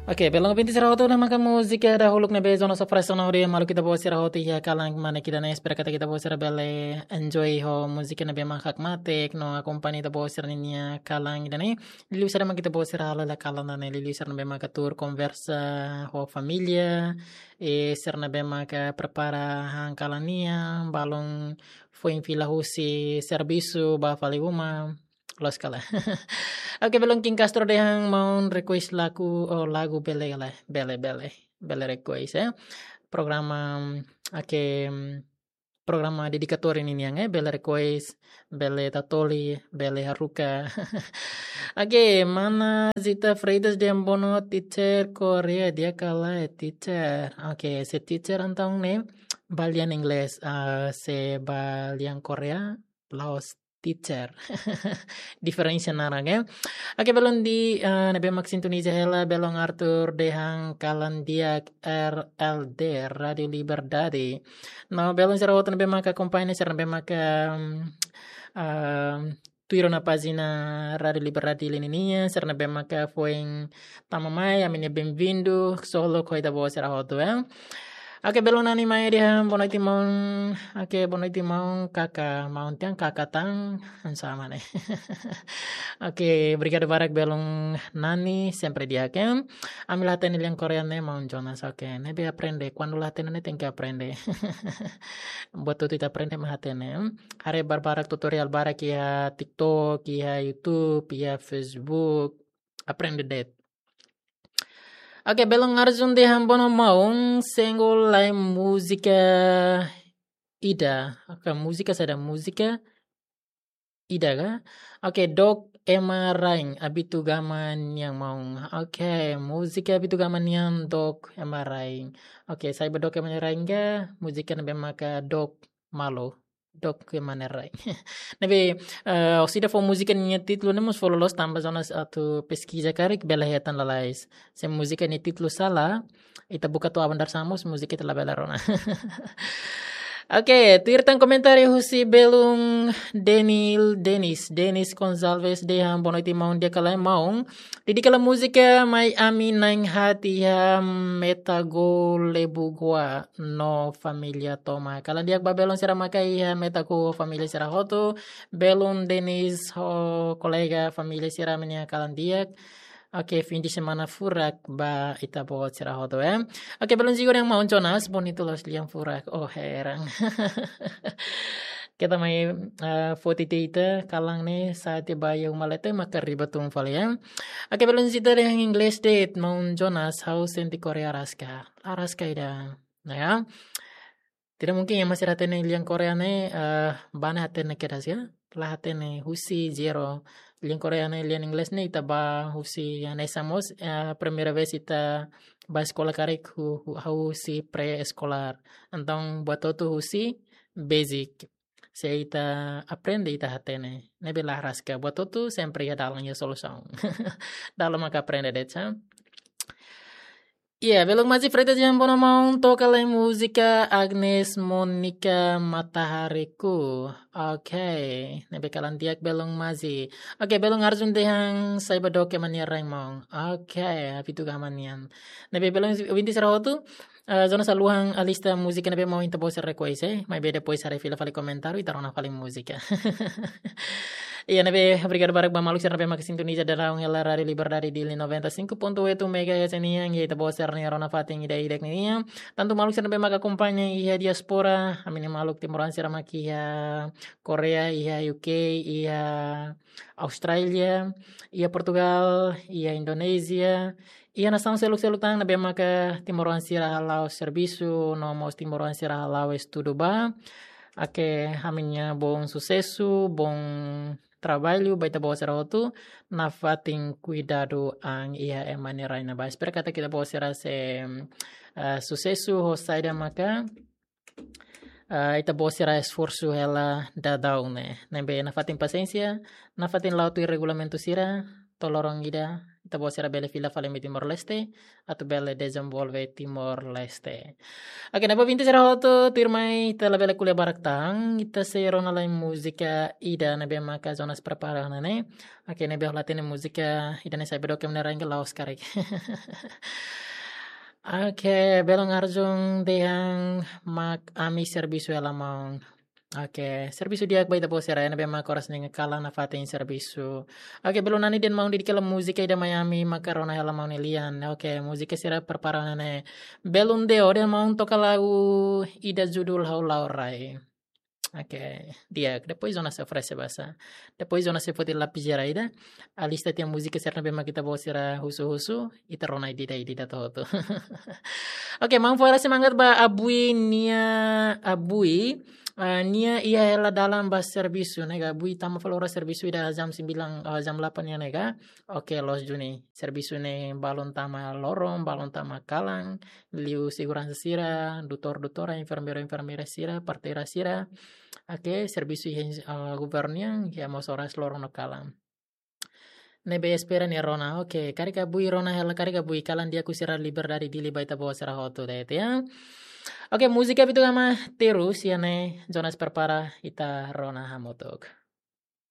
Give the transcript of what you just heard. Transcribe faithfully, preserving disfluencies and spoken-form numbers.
Oke, belun ouvinte sira hotu, ne'e maka múzika dahuluk ne'ebé Jonas oferese ona hodi maluk ita-boot sira hotu iha kalan ida-ne'e. Espera katak ita-boot sira bele enjoy ho múzika ne'ebé mak hakmatek no akompaña ita-boot sira-nia kalan ida-ne'e. Liuliu sira mak ita-boot sira halo iha kalan ida-ne'e, liuliu sira ne'ebé maka tuur konversa ho família, i sira ne'ebé maka prepara han kalan nian, balun foin fila husi servisu ba fali uma, loos ka lae. Oke, belun Kim Castro dehan maun request lagu, oh, lagu bele ka lae, bele, bele, bele request, eh. Programa, oke, programa dedikatóriu ninian, eh, bele request, bele tatoli, bele haruka. Oke, mana Zita Freitas dehan boa noite, teacher Korea, di'ak ka lae, teacher. Oke, se teacher entaun ne'e ba lian Inglés, ah, se ba lian Korea, la'ós teacher. Diferensa naran, eh. Oke, belun di, eh, ne'ebé mak sintoniza hela, belun Arthur dehan kalan di'ak R L D, Rádio Liberdade. No, belun sira hotu ne'ebé maka akompaña, sira ne'ebé maka, mm, ah, tuir ona pájina Rádio Liberdade Dili ninian, sira ne'ebé maka foin tama mai, ami-nia benvindu, solo ko ita-boot sira hotu, eh. Oke, belun Nani Maia dehan boa noite maun. Oke, boa noite maun, kaka, maun tiha kaka tan, hanesan ne'e. Oke, obrigadu barak belun Nani, sempre di'ak, eh. Ami la hatene lian Korea ne'e, maun Jonas, oke. Ne'ebé aprende, kuandu la hatene ne'e tenke aprende. Buat hotu ita aprende mak hatene, eh. Haree barbarak tutorial barak iha TikTok, iha YouTube, iha Facebook. Aprende de'it. Oke, belun Arjun dehan boa noite maun, single lae múzika ida. Oke, múzika saida, múzika ida ka? Oke, Dook Ema Rain, Abitu Gama nian maun. Oke, múzika Abitu Gama nian Dook Ema Rain. Oke, saida ba Dook Ema Rain ka, múzika ne'ebé maka dook malu. Dook Ema Rain. Ne'ebé, eh, orsida fó múzika nia títulu ne'e mós fó loloos tanba Jonas atu peskiza karik bele hetan lalais. Se múzika nia títulu sala, ita buka to'o aban-bainrua mós múzika ita labele rona. Oke, tuir tan komentáriu husi belun Daniel Denis. Denis Gonçalves dehan boa noite maun, di'ak ka lae maun. Dedika lae múzika mai ami na'in-haat iha Metago Lebugoa no família tomak. Kalan di'ak ba belun sira maka iha Metago família sira hotu. Belun Denis ho kolega família sira, ami-nia kalan di'ak. Oke, fim de semana furak ba ita-boot sira hotu, eh. Oke, belun Zigo dehan maun Jonas, bonitu loos lian furak. Oh, heran. Keta mai, eh, foti ita kalan ne'e, sa'e tiha ba iha uma leten maka riba tun fali, eh. Oke, belun Zita dehan Inglés de'it, maun Jonas, ha'u sente Korea araska. Araska ida. Nah, ya. Tidak mungkin ema sira hatene lian Korea ne'e, eh, bá ne'e hatene kedas ya. La hatene husi zero. Lian Korea ne'e, lian Inglés ne'e ita bá husi hanesan mós, eh, primeira vez ita bá eskola karik hu-, hu-, husi pré-eskolár. Entaun buat hotu husi basic. Se ita aprende ita hatene. Ne'ebé la araska, buat hotu sempre iha dalan, iha solusaun. Dalan maka aprende de'it sa. Iya, belun Mazi Freitas dehan boa noite maun, toka lae múzika Agnes Monica Matahariku. Oke, ne'ebé kalan di'ak belun Mazi. Oke, belun Arjun dehan saida ba Dook Ema Rain maun. Oke, Abitu Gama nian. Ne'ebé belun ouvinte sira hotu, eh, Jonas haluha alista múzika ne'ebé maun ita-boot sira request, eh. Maibé depois haree fila fali komentáriu, ita rona fali múzika. Iya, ne'ebé obrigadu barak ba maluk sira ne'ebé maka sintoniza daudaun hela Rádio Liberdade Dili noventa e cinco ponto oito megahertz nian, iha ita-boot sira-nia rona fatin ida-idak ninian. Tantu maluk sira ne'ebé maka akompaña iha diáspora, ami-nia maluk timoroan sira maka iha Korea, iha U K, iha Austrália, iha Portugal, iha Indonézia, iha nasaun seluk-seluk tan ne'ebé maka timoroan sira hala'o servisu, no mós timoroan sira hala'o estudu ba. Oke, ami-nia bom susesu, bom traballu ba ita-boot sira hotu, nafatin kuidadu an iha ema nia rai ne'ebá. Espera katak ita-boot sira sei, eh, susesu ho saida maka, eh, ita-boot sira esforsu hela daudaun ne'e. Ne'ebé nafatin pasiénsia, nafatin la'o tuir regulamentu sira, to'o loron ida, ita-boot sira bele fila fali ami Timor-Leste, atu bele dezenvolve Timor-Leste. Oke, ne'ebé ouvinte sira hotu, tuirmai ita labele ko'alia barak tan, ita sei rona lai múzika ida ne'ebé maka Jonas prepara ne'e. Oke, ne'ebé hola tene múzika ida ne'e sai bedo ke menera enggak laos karik. Oke, belun Arjun dehan mak ami servisu hela maun. Oke, servisu di'ak ba ita-boot sira ne'ebé mak oras ne'e kalan nafatin servisu. Oke, belun Nani dehan maun Didi kela múzika ida mai ami maka rona hela maun Elian. Oke, múzika sira prepara ne'e. Belun Deo dehan maun toka lagu ida judul Ha'u La'o Rai. Oke, di'ak, depois Jonas sei oferese basa. Depois Jonas sei foti lapis jera ida. Alista tiha múzika sira ne'ebé mak ita-boot sira husu-husu, ita rona ida-ida, ida-ida hotu. Oke, maun fó hela semangat ba Abui nia, Abui, eh, nia iha hela dalan ba servisu ne'e ka, Abui tama fali oras servisu ida jam sembilan, eh, jam delapan nian ne'e ka. Oke, loos duni. Servisu ne'e balun tama loron, balun tama kalan, liu seguransa sira, doutór-doutór, enfermeiru-enfermeira sira, parteira sira. Oke, servisu iha, eh, governu nian, iha mós oras loron no kalan. Ne'ebé espera nia rona. Oke, karik Abui rona hela, karik Abui kalan di'ak husi Rádio Liberdade Dili ba ita-boot sira hotu de'it ya. Oke, múzika Bitu Gama terus iha ne'e, Jonas prepara ita rona hamutuk.